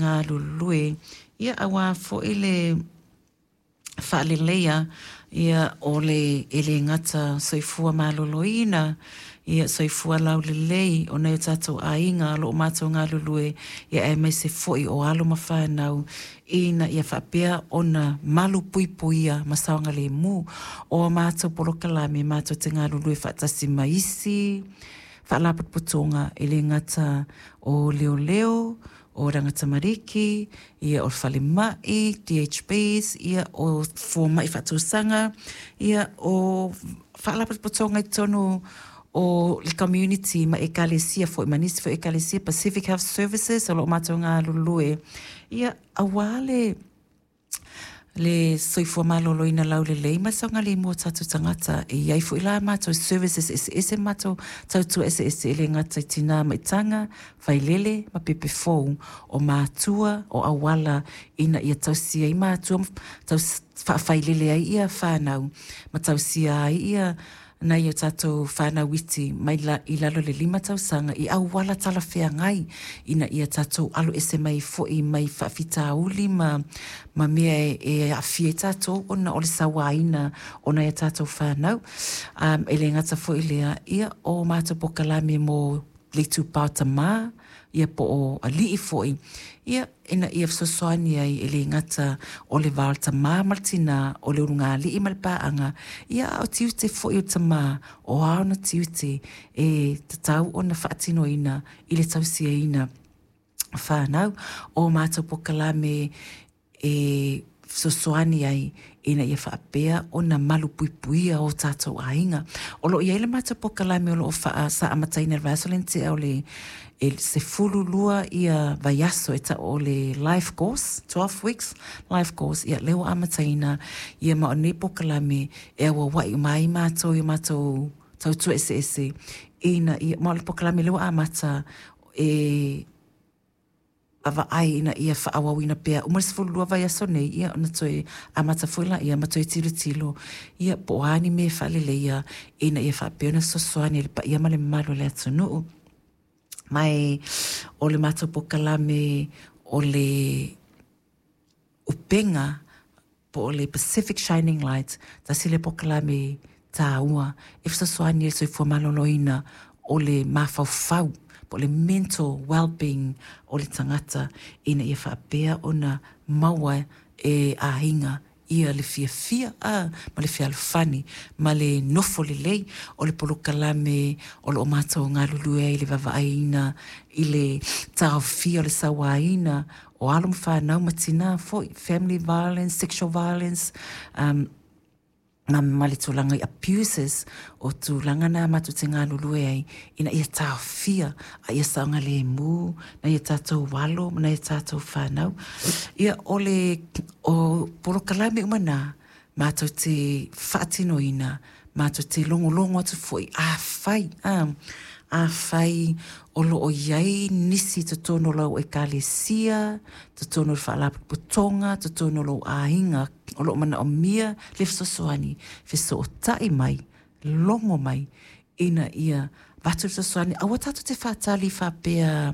galulue, ia aua foi le faaleleia ia o le e le gata soifua maloloina, ia soifua laulelei o nai o tatou aiga o lo o matou galulue, ia aemaise foi o alo ma fanau ina ia faapea ona malupuipuia ma saogalemu. O a matou polokalame matou te galulue faatasi ma isi faalapotopotoga e le gata o leoleo, o Oranga Tamariki, ia o falemai, DHBs, ia o fomai faatausaga, ia o faalapotopotoga i totonu o le community ma ekalesia foi ma nisi foi ekalesia Pacific Health Services o lo o matou galulue ia aua le soifua maloloina laulelei ma le saogalemu o tatou tagata. E i ai foi la matou services eseese ma matou tautua eseese e le gata i tina ma itaga, failele ma pepe fou, o matua, o auala ina ia tausi ai matua ma faafailele ai ia fanau ma tausia ai ia nai o tatou fanau iti mai i lalo i le 5 tausaga i auala talafeagai ina ia tatou alo ese mai foi mai faafitauli ma mea e aafia ai tatou ona o le sauaina o nai a tatou fanau. E le gata foi i lea, ia o matou polokalame mo le itupa o tamā, ia po o alii foi, ia ina ia fesoasoani ai e le gata o le va o le tamā ma le tinā, o le ulugalii ma le paaga, ia a o tiute foi o tamā, o a ona tiute e tatau ona faatinoina i le tausiaina o fanau. O matou polokalame e fesoasoani ai ina ia faapea ona malupuipuia o tatou aiga. O lo o i ai le matou polokalame o lo o sa amataina i le vaiaso lea na tea o le 12 ia vaiaso e tau o le life course, 12 weeks life course, ia lea ua amataina ia ma o lenei polokalame e auauai uma ai matou i o matou tautua eseese ina ia, ma o le polokalame lea ua amata e vaavaai ina ia faaauauina pea uma le 12 vaiaso nei, ia ona toe amata foi laia ma toe tilotilo, ia po o a ni mea e faaleleia ina ia faapea ona fesoasoani i le paia ma le mamalu o le atunuu. Ma o le matou polokalame o le upega po o le Pacific Shining Light, tasi lea polokalame taua e fesoasoani i le soifua maloloina o le mafaufau po o le mental well-being o le tagata ina ia faapea ona maua e aiga ia le fiafia ma le fealofani ma le nofo lelei. O le polokalame o lo o matou galulue ai i le vaavaaiina i le taofia o le sauaina o alo ma fanau ma tinā foi, family violence, sexual violence, ma le tulaga i abuses, o tulaga na matou te galulue ai ina ia taofia a ia saogalemu nai a tatou alo ma nai a tatou fanau. Ia o le o polokalame uma na matou te faatinoina, matou te logologo atu foi, afai, afai o lo o i ai nisi i totonu o lau ekalesia, totonu o le faalapotopotoga, totonu o lou aiga, o lo o manaomia le fesoasoani, fesootai mai, logo mai, ina ia avatu le fesoasoani. Aua tatou te faatali faapea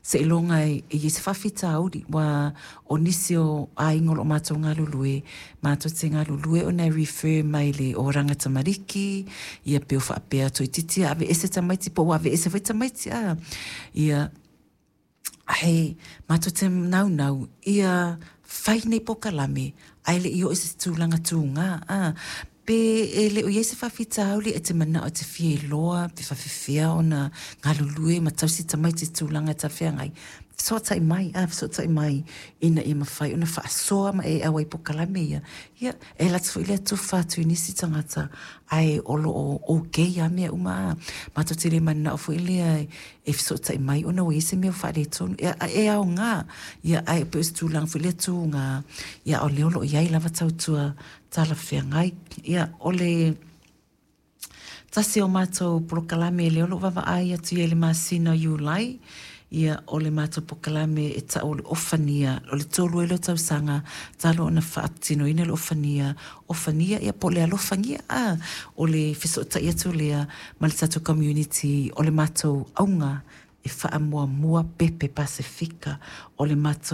seiloga e i ai se faafitauli, ua o nisi o aiga o lo o matou galulue, matou te galulue ona e refer mai le Oranga Tamariki, ia pe o faapea toeitiiti aveese tamaiti po ua aveese foi tamaiti, ia ae matou te naunau ia fai nei polokalame ae le i oo i se tulaga tuga, pe e le o i ai se faafitauli e te manao e te fia iloa pe faafefea ona galulue ma tausi tamaiti i tulaga e talafeagai, fesootai mai, fesootai mai ina ia mafai ona faasoa ma e auai i polokalame ia. Ia, e alu atu foi lea tufa atu i nisi tagata ae o lo o okay lava mea uma. Matou te le mananao foi lea e fesootai mai ona ua i ai se mea ua faaletonu. E aoga, ia ae pei o se tulaga foi lea tuga, ia a o lea o lo o i ai lava tautua talafeagai. Ia, o le tasi o matou polokalame lea o lo o vaavaai atu i ai i le masina o Iulai, ia o le matou polokalame e tau o le ofania, o le 3 ai lea o tausaga talu ona faatinoina le ofania, ofania ia po o le alofagia, o le fesootai atu lea ma le tatou community, o le matou auga e faamuamua pepe Pasefika, o le matou